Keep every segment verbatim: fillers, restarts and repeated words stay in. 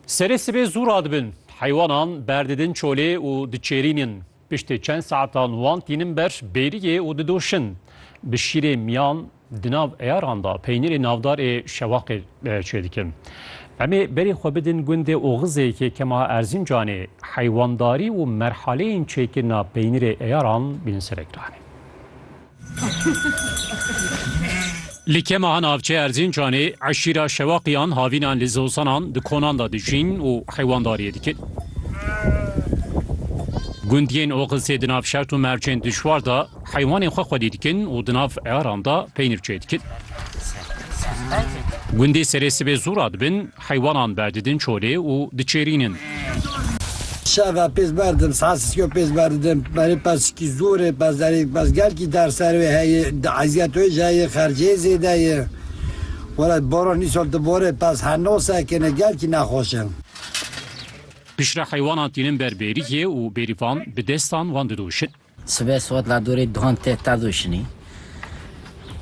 Serê sibê zû radibin, heywanan berdidin çolê û diçêrînin. Piştî çend saetan wan tînin ber bêriyê û didoşin. Bi şîrê miyan di nav eyaran de peynîrê navdar ê şewaqê, e, çêdikin. Em ê berê xwe bidin gundê Oxizê yê Kema Erzincanê, heywandarî û merhaleyên çêkirina peynîrê eyaran bînin ser ekranê. Li Kemaha navçeya Erzincanê eşîra Şewaqiyan havînan li zozanan di konan de dijîn û heywandariyê dikin. Gundiyên Oxizê di nav şert û mercên dijwar de heywanên xwe xwedî dikin û di nav eyaran de peynîr çêdikin. Gundê serê sibê zû radibin, heywanan berdidin çolê û diçêrînin. Şeva pêz berdim, saet sisiyo pêz berdim. Berê pez ki zor e, pez derê, pez gelkî derser wê heye, di eziyet wê jî heye, xercê zêde ye. Wala boran îsal di borê pez heno sekine, gelkî nexweş e. Piştre heywanan tînin ber bêriyê û bêrîvan bi destan wan didoşin. Sibê saet la dorê duhan tê te doşinî.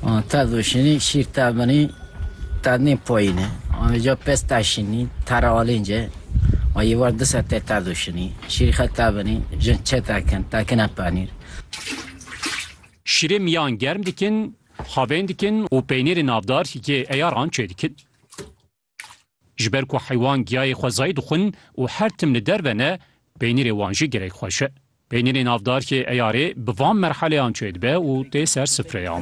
An te doşinî, şîr te binî, te nê poyîne. An vêca pes te şinî, te re alênce. An yê war du saet tê te doşinî. Şîrî xe te binî, jin çê te kin, te kine penîr. Şîrê miyan germ dikin, havên dikin û peynîrê navdar hikê eyaran çêdikin. Ji ber ku heywan giyayê xwezayî dixwin û her tim li derve ne, peynîrê wan jî gelek xweş e. Peynîrê navdar yê eyarê bi van merhaleyan çêdibe û tê ser sifreyan.